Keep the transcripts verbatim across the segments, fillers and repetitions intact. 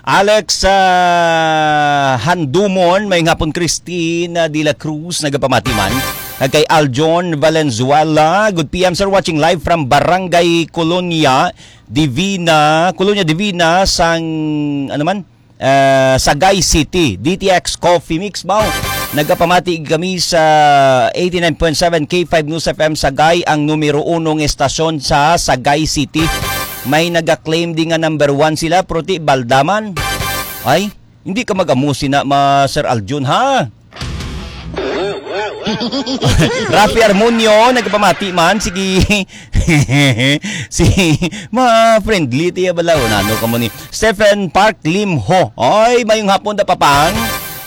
Alex, ah, Handumon, may hapon Christine, ah, de la Cruz, nagapamati man. Kag kay Aljon Valenzuela, good P M, sir, watching live from Barangay Colonia Divina, Colonia Divina, sang, ano man? Ah, Sagay City, D T X Coffee Mix, baw. Nagapamati kami sa eighty-nine point seven K five News F M Sagay, ang numero uno nga estasyon sa Sagay City. May naga-claim di nga number one sila, pero ti baldaman. Ay, hindi ka mag-amo sina ma Sir Aljun, ha? Rafi Armonio, nagpamati man. Sige. Si, ma friendly tiya bala. O, nano ka mo ni Stephen Park Lim Ho. Ay, mayong hapon da, Papang.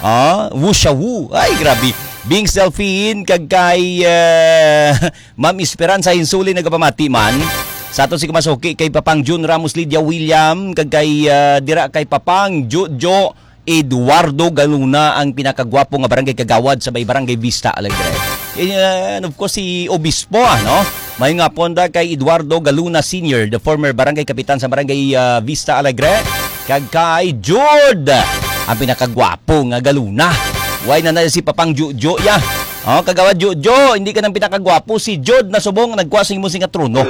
Ah, Wu Sha Wu. Ay, grabe. Bing Selfie in, kag kay, ah, Ma'am Esperanza Hinsuli, nagpamati man. Sa ato si Kumasuki, kay Papang Jun Ramos, Lydia William, kag kay, ah, dira kay Papang Jojo Eduardo Galuna, ang pinakagwapo nga barangay kagawad sa may Barangay Vista Alegre. And, uh, and of course, si Obispo, ano? May nga ponda kay Eduardo Galuna Senior, the former barangay kapitan sa Barangay, uh, Vista Alegre. Kag kay Jude, ang pinakagwapo nga Galuna. Why na na si Papang Jojo, ya? Oh, kagawad Jojo, hindi ka nang pinakagwapo. Si Jude na subong nagkuha sa imo sing trono.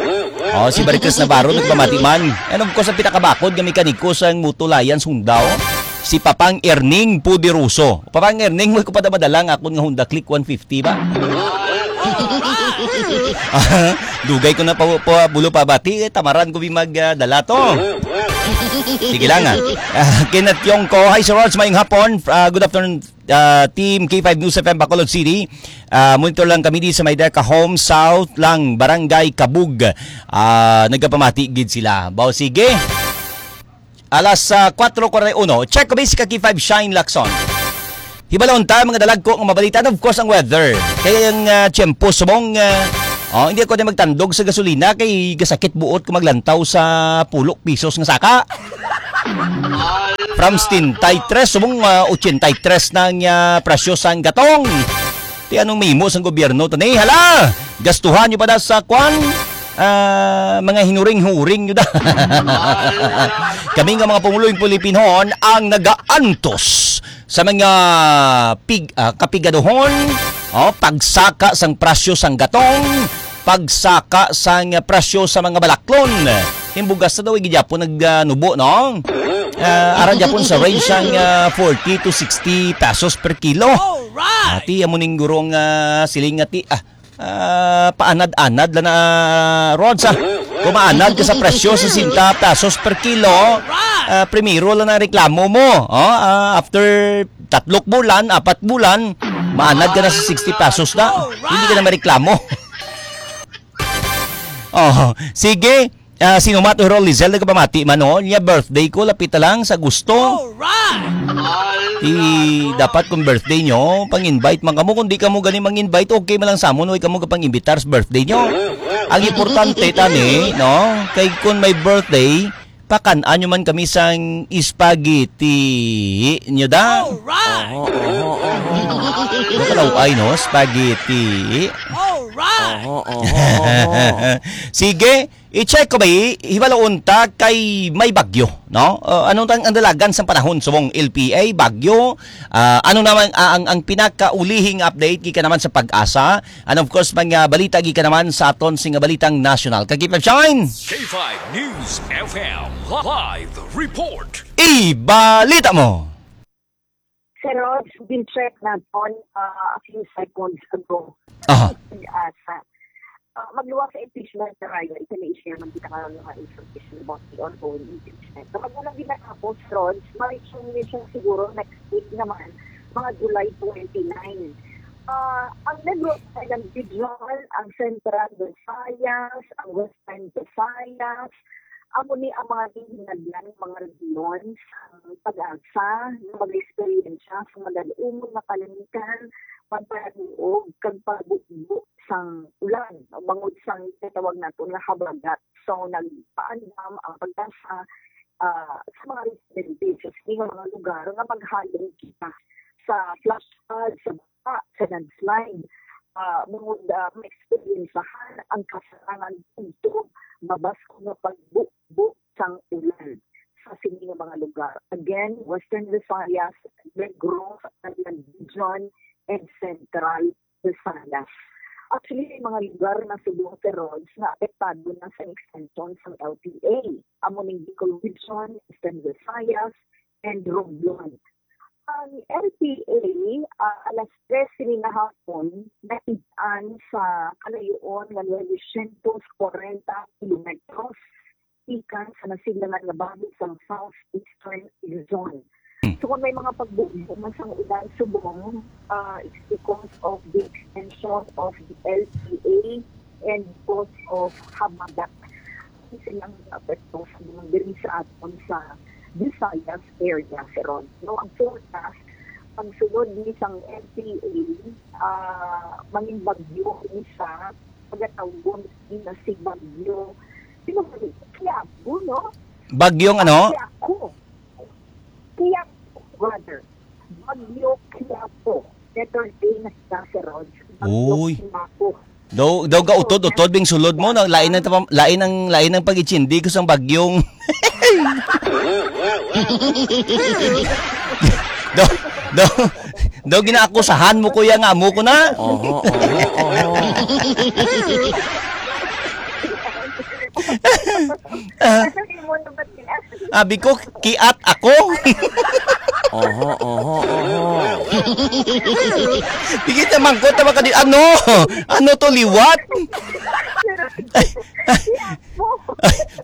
Oh, si Barikes Navarro nagpamati man. And of course, ang pinakabakod nga mekaniko sa Moto Lions Honda, oh, si Papang Erning Poderoso. Papang Erning, mo ko pa madala nga akon nga Honda Click one fifty ba? Dugay ko na pa, pa bulo pa bati, eh, tamaran ko bi mag, ah, dala to. Sige lang, ah. Ah, Kenneth Yongko, hi, Sir Rods, mayong hapon. Ah, good afternoon, ah, Team K five News F M Bacolod City. Ah, monitor lang kami di sa may Deca Home South lang, Barangay Kabug. Ah, nagapamati gid sila. Baw, sige. Alas, ah, kwatro kuwarenta y uno. Check ko ba si Kaki five Shine Lacson? Hibalon ta, mga dalagko nga mabalita. And of course, ang weather. Kaya ang, ah, tiyempo, subong, ah, oh, hindi ako na magtandog sa gasolina kay gasakit buot ko maglantaw sa pulok pisos nga saka. From setenta y tres, subong, ah, ochenta y tres na ang, ah, presyo sang gatong. Ti anong mahimo sang gobyerno to ni? Hala! Gastuhan nyo pa da sa kwan? Ah, mga hinuring-huring nyo da. Kami nga mga pumulong Pilipinhon ang nagaantos sa mga pig-, ah, kapigaduhon, oh, pagsaka sang presyo sang gatong, pagsaka sang presyo sa mga balaklon. Yung bugas na daw, gid gyapon nag, ah, nubo, no? Ah, ara gyapon sa range sang, ah, forty to sixty pesos per kilo. Ati, amo ning gurong, ah, siling nga ti-, ah, ah, paanad-anad lang na, Rods, ah. Kung maanad ka sa presyo, sesenta pesos per kilo, ah, primero lang ang reklamo mo. Oh, ah, after tatlok bulan, apat bulan, maanad ka na sa sixty pesos na. Hindi ka na mareklamo. Oh, sige. Ah, sino man to, Rol Lizelle, nagpamati man, no? Niya birthday ko, lapit na lang sa Agosto. Alright! Di, dapat kung birthday nyo, pang-invite man kamo. Kung di kamo gani mang-invite, okay man lang sa amon, way kamo kapang-imbitar sa birthday nyo. Ang importante, tani, no? Kay kung may birthday, pakan-an nyo man kami sang spaghetti nyo da. Alright! Oho, oho, oho. Ano ka daw ay, no? Spaghetti. Alright! Oho, oho, oho. Sige, i-check ko ba, i-, hibaloon ta kay may bagyo, no? Uh, anong tang ang dalagan sa panahon subong L P A, bagyo? Ah, ano naman, ah, ang, ang pinakaulihing update gikan naman sa PAGASA? And of course, mga balita gikan naman sa aton sing balitang nasyonal. Kag keep shine! K five News F M live report. Ibalita mo! Sir Rods, been check naton, ah, a few seconds ago. Aha. Asa. Ah, magluwas sa impeachment trial, ito na i-share man kita karon nga information about the ongoing impeachment. So, magmula din natapos, Rods, ma-resume ni siya siguro next week naman, mga July twenty-nine. Ah, ang Negros Island Region, ang Central Visayas, ang Western Visayas, amo ni ang mga ginhinadlan nga mga rehiyon sang PAGASA nga mag-eksperyensya sa madal-umon nga kalangitan, pagpanaluog kag pagbubo sang ulan, o bangod sang ginatawag naton nga habagat. So, nagpaandam ang PAGASA, ah, sa mga residente sa sini nga mga lugar nga maghalong kita sa flash flood, sa baha, sa landslide. Ah, bangod, ah, maeksperiyensahan ang kasarangan tungtod mabaskog nga pagbubo sang ulan. sa sini nga mga lugar. Again, Western Visayas, Negros, Region, and Central Visayas. Actually, may mga lugar na subong, Sir Rog, nga apektado na sa extension sa L T A. Amo ning Bicol Region, Eastern Visayas, and Romblon. Ang L T A, ah, alas tres sini nga hapon, naid-an sa kalayo-on nga nuwescientos kwarenta kilometros gikan sa nasidlangan nga bahog sang Southeastern Luzon. Hmm. So, kung may mga pagbugyo man sang ulan subong, ah, it's because of the extension of the L T A and because of habagat. Ang silang epekto sa mga diri sa aton sa Visayas area, Sir Rog. No, ang forecast, ang sulod ni sang L T A, ah, mangin bagyo ni siya, pagatawgon ni na si Bagyo. Sino ba ni? Quiapo, no? Bagyong ano? Quiapo. Quiapo, brother. Bagyo Quiapo. Letter A na siya, Sir Rog. Bagyo Uy. Quiapo. Daw, daw ga utod-utod bing sulod mo, no? Lain ang tapam-, lain ang, lain ang pag-itsindi ko sang bagyong. Daw, daw, daw ginaakusahan mo, kuya, nga amo ko na. Oho, oho, oho. Ano yung mundo ba sila? Abi ko, kiat ako. Oho, oho, oho. Di kita mangkot na maka di, ano? Ano to, liwat? Ay, ay,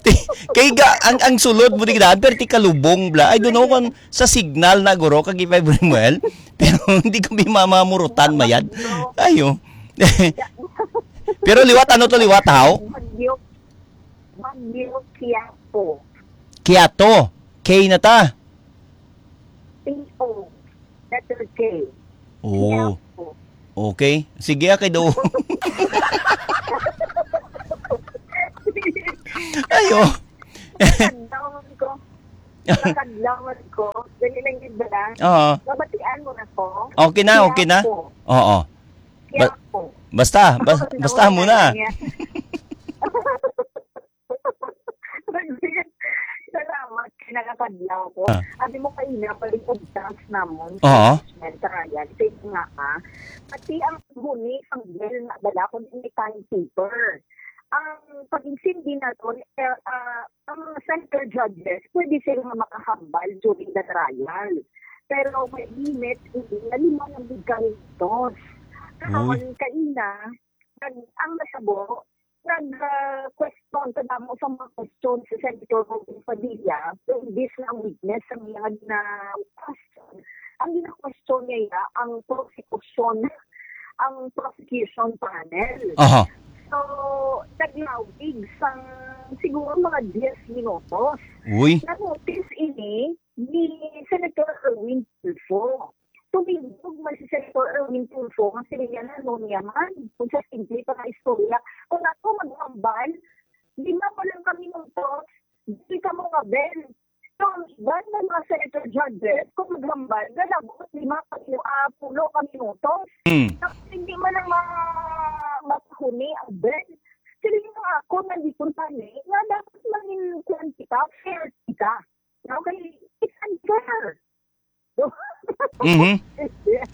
ti-, kay ga, ang, ang sulod mo di daan, pero ti kalubong bla. I don't know kung sa signal na, guro, kag five Rimuel. Pero hindi ko may mamamurutan, mayad. Ayo. Pero liwat, ano to, liwat, haw? Bagyo, Bagyo Quiapo. Kiato. K na ta. P O. Letter K. Oo. Quiapo. Okay. Sige, ah, kay do. Ayo. Nakadlawan ko. Nakadlawan ko. Dali lang yun ba lang? Oo. Mabatian mo na ko. Okay na, okay na. Quiapo. Oo. Ba-, Quiapo. Basta, bas-, basta mo na. Niya. Salamat, kay nakakadlaw ko. Ah. Abi mo kaina, paling obtas namon sa Oo. Management Trial. Sa ito nga, ah, pati ang huni, ang bell na bala, kung may timekeeper. Ang pag-insindi naton, eh, ah, ang center judges, pwede sila nga makahambal during the trial. Pero may limit, hindi na lima na gid ka minutos. Karon, Uy. Kaina, nag-, ang nasabo, nag, ah, question, kadamo sa mga question si Senator Robin Padilla, imbis na ang witness ang iyang gina-question. Ang gina-question niya, ang prosecution, ang prosecution panel. Aha. So, naglawig sang siguro mga diyes minutos. Uy. Na-notice ini ni Senator Erwin Tulfo. Tumindog man si Senator Erwin Tulfo nga sila niya na, "Ano niya man, kung sa simple pa nga istorya, kung ako maghambal, lima pa lang ka minutos, di ka mo nga bell." So, ang iban nga mga senator judges, kung maghambal, galabot lima ka minu-, ah, pulo ka minutos. Hmm. Tapos hindi man lang ma-, mapahuni ang bell. Sila yung ako, nandito tani, nga dapat mangin kuwan kita, fair kita. Okay? It's unfair. Mhm.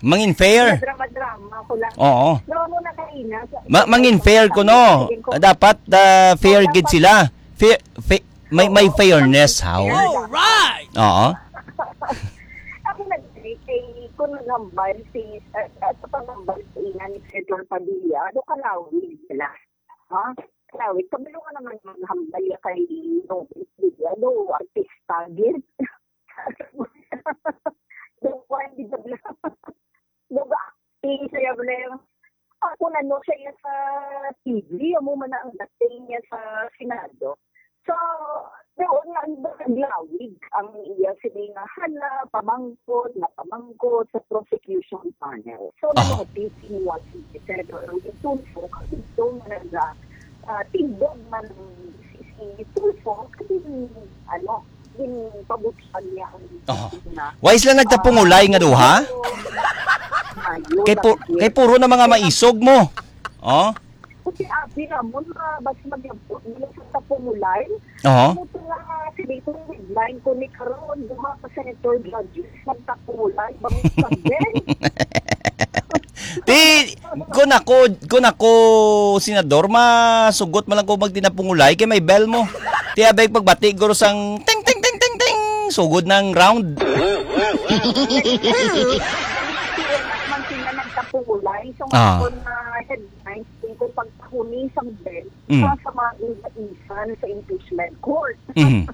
Mangin fair. Drama-drama ko lang. Oo. No, no, nakaina. Ma-, mangin fair ko, no. Dapat, ah, fair gid sila. Fair, fa-, may, may fairness, how? All right. Oo. Ako nag-, kay, kung naghambal si, ah, ah, sa paghambal sa ina ni Senator Padilla, ano ka na, sila? Ha? Lawit, kabalo ka naman maghambal ya kay Nobel Siliano, artista gid. Daw kuwan, di ba, bla-, daw ga-acting siya, bla-, ako na, no, siya iya sa T V, amo man na ang acting niya sa Senado. So, doon nga ang naglawig ang iya sini nga hala, pamangkot, na pamangkot sa prosecution panel. So, Ah. na-notice ni Senator Erwin Tulfo, kag ito nga nag-, ah, tindog man si, si Tulfo, kasi, ano, ginpabutsan niya ang Aha. na, Why sila nagtapungulay nga duha? Ayun, Kay pu-, bakit? Kay puro na mga maisog mo. Oh? Kasi, ah, Di namon mabas magyabot nila sa tapungulay. Oo. Amo to nga, sige, kung headline ko ni karon, duha ka senator judges nagtapungulay, bangod sa Ben. Ti, kun ako, kun ako, senador, masugot man lang ko magtinapungulay kay may bell mo. Ti abay pagbati guro sang ting ting ting ting ting, sugod ng round. Man sila nagtapungulay. So, Ah. nga ako na headlines, kung pagpahuni sang Ben, Mm. sa, sa mga isan sa impeachment court. Mhm.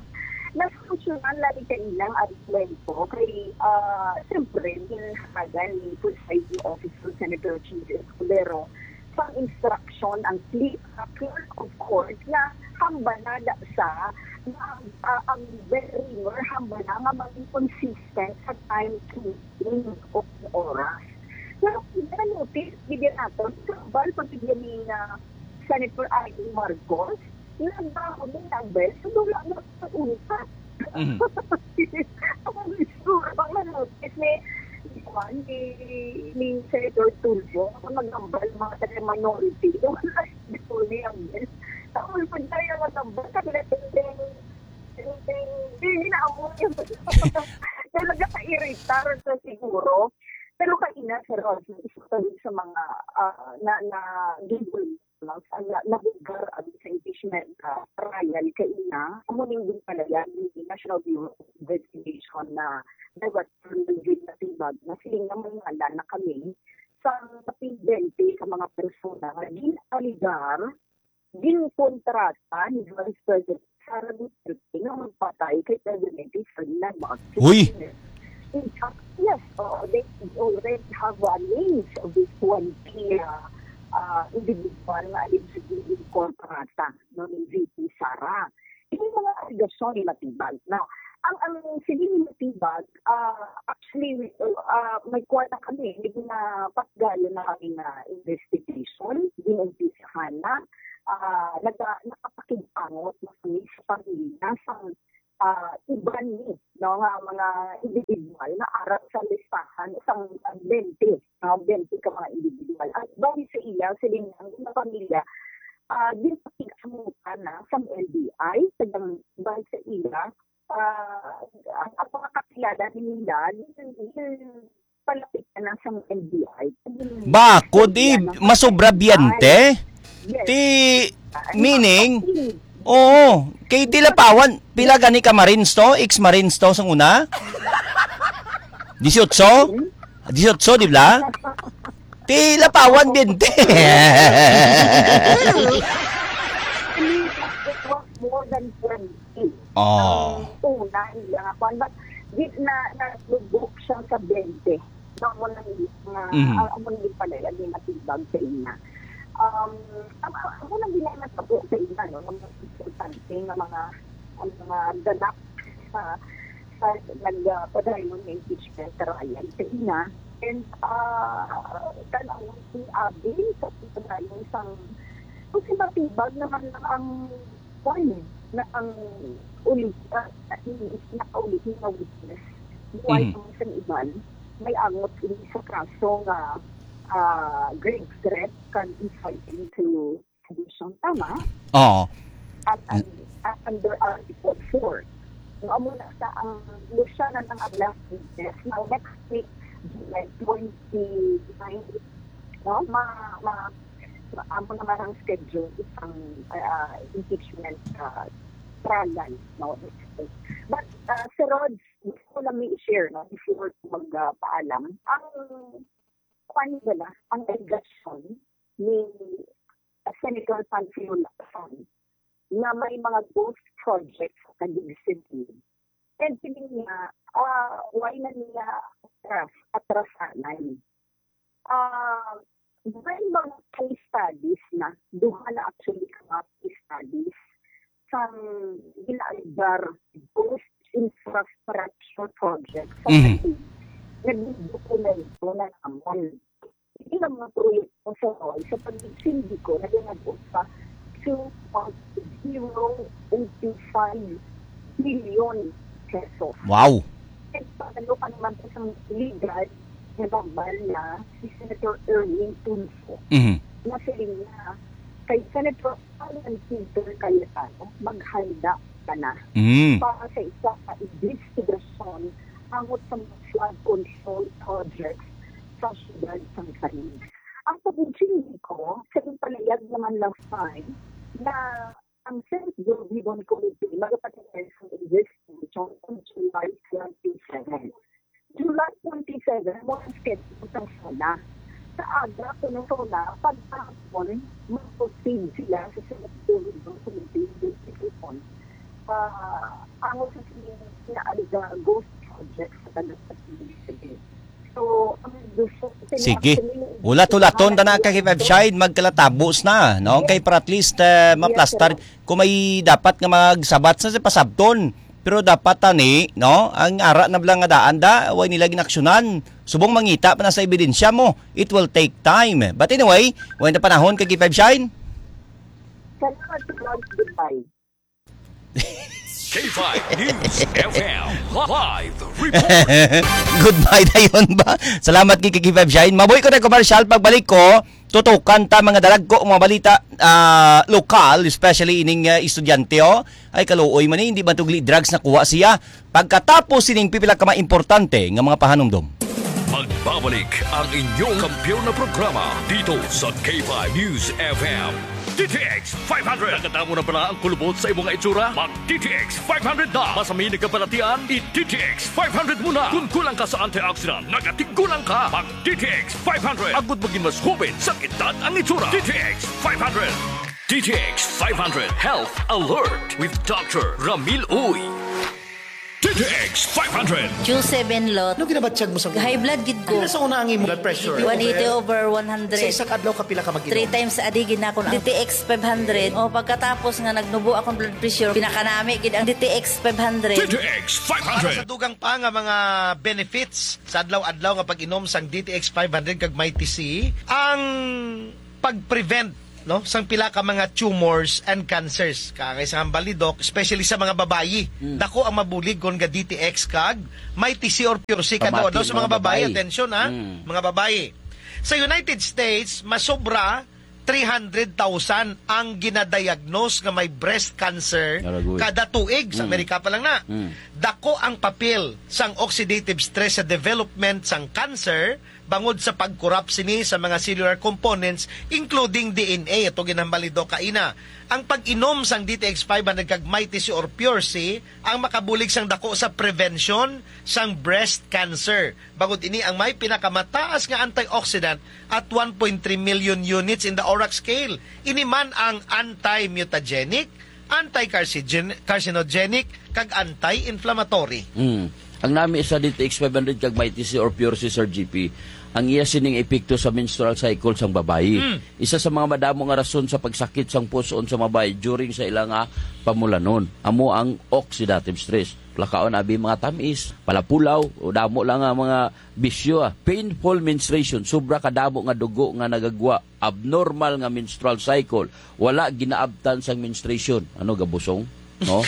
Nasolusyonan lang ni kanilang argumento kay, ah, siyempre, ginhatagan ni Presiding Officer Senator Chiz Escudero sa instruction ang plea, ah, clerk of court na hambanada sa na ang, ah, ang bell ringer hambana nga maging consistent sa time keeping o oras. Pero na-notice, bigyan nato, kabal pag bigyan ni, ah, Senator Amy Marcos, nagbaho din ang bell, so wala na sa unta. Mhm. Ang siguro, ang na-notice ni, ni Juan, ni, ni Senator Tulfo, kung nagambal mga taga-minority, wala siguro ni ang bell. Tapos pag tayo nagambal, kasi na ting, ting, ting, ting, hindi na amo yung talaga ka-irritar sa siguro. Pero kaina, Sir Rodney, isa pa din sa mga, ah, na, na gigol lang sa na, nabugar ang sa impeachment, ah, trial kaina, amo ning ginpalaya ni National Bureau of Investigation na Director Ludwig Matibag na siling nga may ngalan na kami sa kapin bente ka mga persona nga gin-aligar, ginkontrata ni Vice President Sara Duterte nga magpatay kay Presidente Ferdinand Marcos Uy! Junior. In fact, yes, oo, they already have, uh, names of this twenty, uh, uh, individual nga allegedly ginkontrata, no, ni V P Sara. Ini mga alegasyon ni Matibag. Now, ang, ang sige ni Matibag, ah, actually, ah, may kuwan na kami, may ginapatgayon na kami nga investigation, ginumpisahan na, ah, naga-, nakapakig-angot na kami sa pamilya, sa, ah, iban ni, no, nga mga individual na arap sa listahan sang bente, no, bente ka mga individual. At bali sa iya, sa linyang mga pamilya, ah, ginpakig-angotan na sang N B I, tagang bali sa iya, ah, ang, ang mga kakilala nila, yun, yun, palapit na lang sa N B I. Bakod, eh, masobra biyente. Yes. Ti, Ah, meaning, hindi. Oo. Kay Tilapawan, pila gani ka Marines to? Ex-Marines to sang una? Disiotso? Disiotso, di ba? Tilapawan, biyente. It was more than twenty. Oh. Ang una, hindi nga kwan. But, di, na, na-book siya sa bente. Amo na nga, Mhm. ah, amo na yung pala, yung matibag sa ina. Um, ang, ang, amo na ginanatabo sa ina, no, ang mga importante nga mga, ang mga ganap sa, sa nagpadayon nga impeachment trial sa ina. And, ah, tan-awon si Abby sa pagpadayon sang, kasi matibag naman lang ang kwan, na ang uli, ah, nakauli nga witness. Buhay Mhm. ang isang iban, may angot ini sa kaso nga, ah, grave threat kag inciting to sedition. Tama? Oo. At, at, at under Article four. No, amo na sa ang Luciana ng Ablas Business. Now, next week, July twenty-nine, no? Ma, ma, ma, amo naman ang schedule isang, ah, impeachment, ah, trial, no? But, ah, Sir Rod, gusto ko lang i-share, no? Before ko mag, ah, paalam, ang kwan nila, ang alegasyon ni Senator Panfilo Lacson na may mga ghost projects sa Taguig City. And sila nga, ah, why na nila atras, atrasanan? Ah, may mga case studies na, duha na actually ka mga case studies sa ginaaligar ghost infrastructure projects sa Mhm. Taguig. Nagdokumento na namon. Hindi lang mga proyekto sa Roy, sa pag-sindiko, naganagot pa two point zero eight five billion pesos. Wow. At paano ka naman sa isang legal na gambal na si Senator Erwin Tulfo Mhm. na siling na kay Senator Alan Peter Cayetano, maghanda ka na Mm. para sa isa ka investigasyon angot sa mga flood control projects sa siyudad sang Taguig. Ang pag-intindihi ko, sa iyang palihog naman last time, na ang Senate Bill Ribbon Committee magapatigayon sang investigation on July twenty-seven. July twenty-seven, mo ang schedule sang SONA. Sa aga, kuno SONA, pagkahapon, mag-proceed sila sa Senate Bill Ribbon Committee investigation. Ah, ang sa sining na aliga ghost project sa taga Taguig. So, ang gusto, Sige. Ulat-ulaton ta na, ka K five Shine, magkalatabos na, no? Yes. Kay para at least, eh, Yes, maplastar. Sir. Kung may dapat nga magsabat sa, sa pasabton. Pero dapat tani, no? Ang ara na bala nga daan da, way nila ginaksyonan. Subong mangita pa na sa ebidensya mo, it will take time. But anyway, way na panahon, ka K five Shine. Salamat, Lord. Goodbye. K five News F M live report. Goodbye dayon ba? Salamat kay K five Shine. Mabuhi ko na commercial. Pagbalik ko, tutukan ta mga dalagko, mga balita, ah, lokal, especially ining, ah, estudyante, oh. Ay, kaluoy man eh, hindi man tugli drugs na kuha siya. Pagkatapos sining pipila ka mga importante nga mga pahanumdom. Magbabalik ang inyong kampiyon na programa dito sa K five News F M. D T X five hundred. Nakadamo na bala ang kulubot sa imong itsura? Mag D T X five hundred na. Masamin nga balatian, i D T X five hundred mo na. Kung kulang ka sa antioxidant, nagatigulang ka. Mag D T X five hundred. Agud maging mas hubin sa edad ang itsura. D T X five hundred. D T X five hundred Health Alert with Doctor Ramil Uy. D T X five hundred. Q seven lot. Ano ginabatyag mo sa High blood gid ko. Ano sa una ang imo blood pressure? One eighty over one hundred. Sa isa ka adlaw, kapila ka mag-inom? Three times a day gid na ako ang D T X five hundred. O, pagkatapos nga nagnubo akong blood pressure, pinakanami gid ang D T X five hundred. D T X five hundred. Para sa dugang pa nga mga benefits sa adlaw-adlaw nga pag-inom sang D T X five hundred kag Mighty C, ang pag-prevent, no, sang pila ka mga tumors and cancers. Kaangay sa hambal ni Doc, especially sa mga babayi. Mm. Dako ang mabulig kon ga D T X kag Mighty C or Pure C. Pamati kadlaw-adlaw sa mga mga babayi, babayi. Atensyon, ha? Mm. Mga babayi. Sa United States, masobra three hundred thousand ang ginadiagnose nga may breast cancer Aragoy. Kada tuig. Sa Mm. Amerika pa lang na. Mm. Dako ang papel sang oxidative stress sa development sang cancer, bangod sa pag-corrupt sini sa mga cellular components, including D N A, ato ginhambal ni Doc kaina. Ang pag-inom sang D T X five hundred kag Mighty C or Pure C ang makabulig sang dako sa prevention sang breast cancer. Bangod ini ang may pinakamataas nga antioxidant at one point three million units in the ORAC scale. Ini man ang anti-mutagenic, anti-carcinogen-, carcinogenic, kag anti-inflammatory. Mm. Ang nami sa D T X five hundred kag Mighty C or Pure C, Sir G P, ang iya sining epekto sa menstrual cycle sang babayi. Mm. Isa sa mga madamo nga rason sa pagsakit sang puson sa babayi during sa ila nga pamulanon, amo ang oxidative stress. Lakaon abi mga tamis, palapulaw, o damo lang nga mga bisyo, ah. Painful menstruation, sobra kadamo nga dugo nga nagagwa, abnormal nga menstrual cycle, wala ginaabtan sang menstruation. Ano, gabusong? No?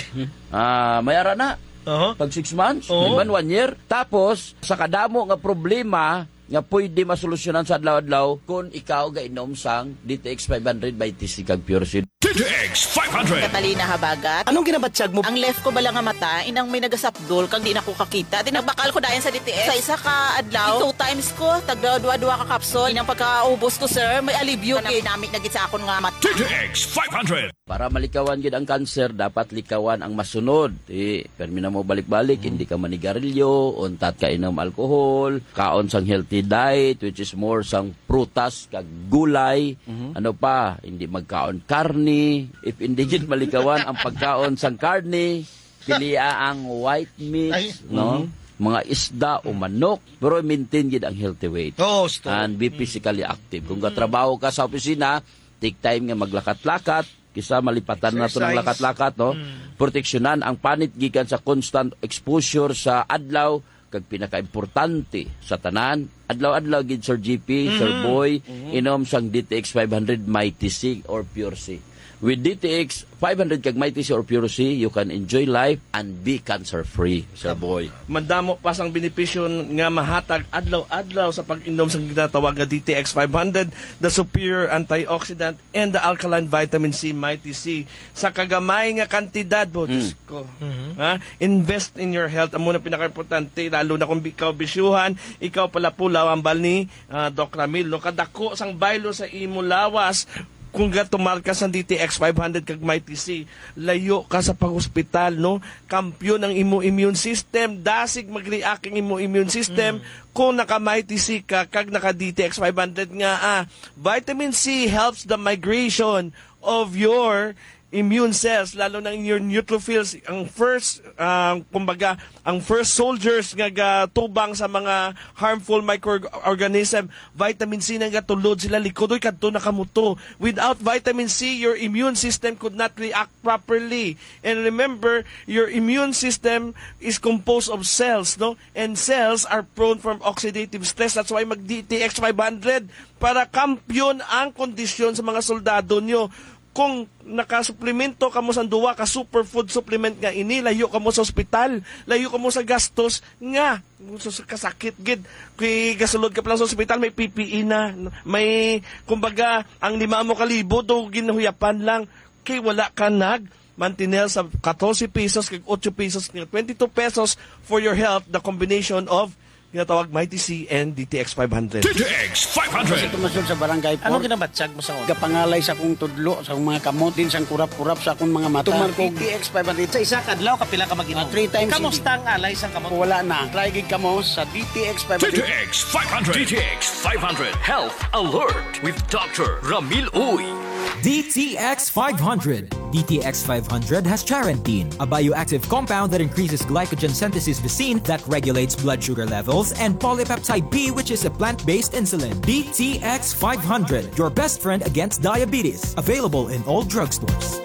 Ah, may ara na. Aha. Pag six months, Oo. May man one year. Tapos, sa kadamo nga problema nga pwede masolusyonan sa adlaw-adlaw kung ikaw gainom sang D T X five hundred Mighty C kag Pure C. D T X five hundred. Catalina Habagat. Anong ginabatyag mo? Ang left ko bala nga mata, inang may nagasapdol, kag di na ko kakita. Di nagbakal ko dayon sa D T X. Sa isa ka adlaw, two times ko, tagda duha-duha ka kapsul. Inang pagkaubos ko, sir, may alibyo. Kanami-nami na gid sa akon nga mata. D T X five hundred. Para malikawan gid ang cancer, dapat likawan ang masunod. Di, permi na mo balik-balik, Mm. hindi ka manigarilyo, untat ka inom alcohol, kaon sang healthy diet, which is more sang prutas kag gulay. Mhm. Ano pa, hindi magkaon karne. If hindi gid malikawan ang pagkaon sang karne, pilia ang white meat, Ay. no? Mhm. Mga isda o manok, pero maintain gid ang healthy weight. Oo, gusto. And be Mm. physically active. Kung Mm. katrabaho ka sa opisina, take time nga maglakat-lakat, kisa malipatan na to ng Exercise. lakat-lakat, no? Mm. Proteksyonan ang panit gikan sa constant exposure sa adlaw, kag pinakaimportante sa tanan, adlaw-adlaw gid, Sir G P, Sir Mhm. Boy, Mhm. inom sang D T X five hundred Mighty C or Pure C. With D T X five hundred kag Mighty C or Pure C, you can enjoy life and be cancer-free, Sir Boy. Madamo pa sang benepisyo nga mahatag adlaw-adlaw sa pag-inom sang ginatawag nga D T X five hundred, the superior antioxidant and the alkaline vitamin C, Mighty C. Sa kagamay nga kantidad, bo, Hmm. Diyos ko. Mhm. Ha? Invest in your health. Amo na pinakaimportante, lalo na kung ikaw bisyuhan, ikaw pala pulaw, ambal ni, ah, Doc Ramil, no? Kadako sang baylo sa imo lawas, kung gatumar ka sa D T X five hundred kag Mighty C, layo ka sa pag-hospital, no? Kampiyon ang imo immune system, dasig mag-react ang imo immune system Mm. kung naka-Mighty C ka kag naka-D T X five hundred nga, ah, vitamin C helps the migration of your immune cells, lalo na in your neutrophils, ang first, ah, kumbaga, ang first soldiers nga gatubang sa mga harmful microorganism, vitamin C na gatulod sila likod, oy, kadto na kamo to. Without vitamin C, your immune system could not react properly. And remember, your immune system is composed of cells, no? And cells are prone from oxidative stress. That's why mag D T X five hundred para kampiyon ang kondisyon sa mga soldado nyo. Kung nakasuplemento kamo sa duwa ka superfood supplement nga ini, layo kamo sa ospital, layo kamo sa gastos nga sa kasakit gid. Kay gasulod ka pa lang sa ospital, may P P E na, may, kumbaga, ang lima mo kalibo do ginhuyapan lang. Kay wala ka nag mantinel sa katorse pesos kag otso pesos nga twenty-two pesos for your health, the combination of ginatawag Mighty C and D T X five hundred. D T X five hundred. Sa tumasod sa barangay Ano four, ginabatyag mo sa una? Gapangalay sa akong tudlo, sa akong mga kamot, din sang kurap-kurap sa akong mga mata. Tumar ko D T X five hundred. Sa isa ka adlaw, kapila ka mag-inom? Ah, three times a day. Kamusta ang alay sa kamot? Wala na. Try gid kamo sa D T X five hundred. D T X five hundred. D T X five hundred. Health Alert with Doctor Ramil Uy. D T X five hundred. D T X five hundred has charantine, a bioactive compound that increases glycogen synthesis V C that regulates blood sugar levels, and polypeptide B, which is a plant-based insulin. D T X five hundred, your best friend against diabetes. Available in all drugstores.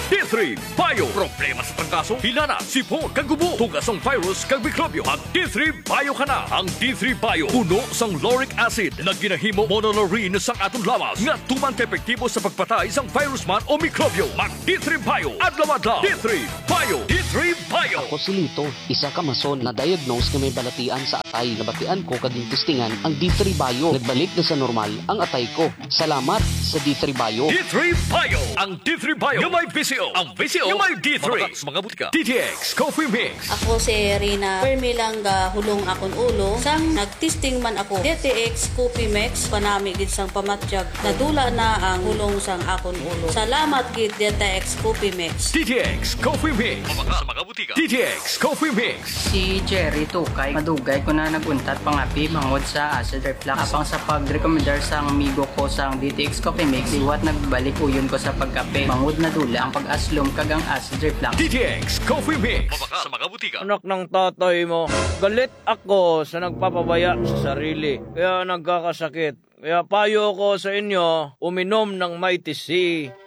D three Bio. Problema sa trangkaso, hilanat, sipon, kag gubo, tugas sang virus kag mikrobyo. Mag D three Bio ka na. Ang D three Bio puno sang lauric acid nga ginahimo monolaurin sang aton lawas nga tuman ka epektibo sa pagpatay sang virus man o mikrobyo. Mag D three Bio adlaw-adlaw. D three Bio. D three Bio. Ako si Lito, isa ka mason na diagnose nga may balatian sa atay. Nabatian ko kag gintistingan ang D three Bio. Nagbalik na sa normal ang atay ko. Salamat sa D three Bio. D three Bio. Ang D three Bio nga may V C O. Ang V C O nga may D three. Mabakal sa mga butika. D T X Coffee Mix. Ako si Rina. Permi lang gahulong akon ulo. Sang nagtesting man ako, D T X Coffee Mix, panami gid sang pamatyag. Nadula na ang hulong sang akon ulo. Salamat gid, D T X Coffee Mix. D T X Coffee Mix. Mabakal sa mga butika. D T X Coffee Mix. Si Jerry Tukay, madugay ko na nag-untat pangapi bangod sa acid reflux. Apang sa pagrekomendar sang amigo ko sang D T X Coffee Mix, liwat nagbalik uyon ko sa pagkape. Bangod nadula ang pag-aslom kag ang acid reflux. D T X Coffee Mix. Mabakal sa mga butika. Anak ng tatay mo, galit ako sa nagpapabaya sa sarili, kaya nagkakasakit. Kaya payo ko sa inyo, uminom ng Mighty C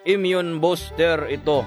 Immune Booster ito.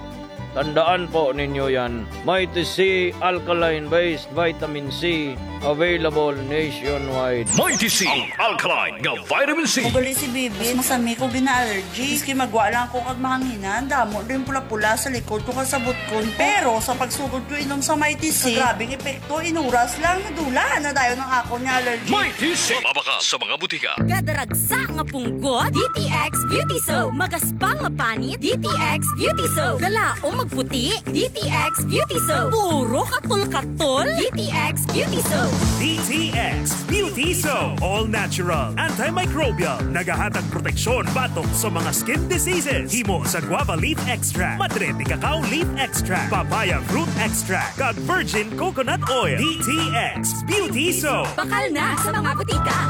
Tandaan po ninyo yan. Mighty C Alkaline Based Vitamin C, available nationwide. Mighty C, ang alkaline nga vitamin C. Ugali si Bibi, masami ko gina-allergy. Miski magwa lang ako kag mahanginan, damo din pula-pula sa likod ko kag sa butkon ko. Pero sa pagsugod ko inom sa Mighty C, grabing epekto, inuras lang, nadula na dayon ang akon nga allergy. Mighty C. Mabakal sa mga butika. Gadaragsa nga punggot, D T X Beauty Soap. Magaspang nga panit, D T X Beauty Soap. Galaom magputi, D T X Beauty Soap. Puro katol-katol, D T X Beauty Soap. D T X Beauty Soap. All natural, antimicrobial. Nagahatag proteksyon batok sa mga skin diseases. Himo sa guava leaf extract, madre de cacao leaf extract, papaya fruit extract, kag virgin coconut oil. D T X Beauty Soap. Bakal na sa mga butika.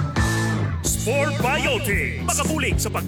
Spore Biotics. Makabulig sa pag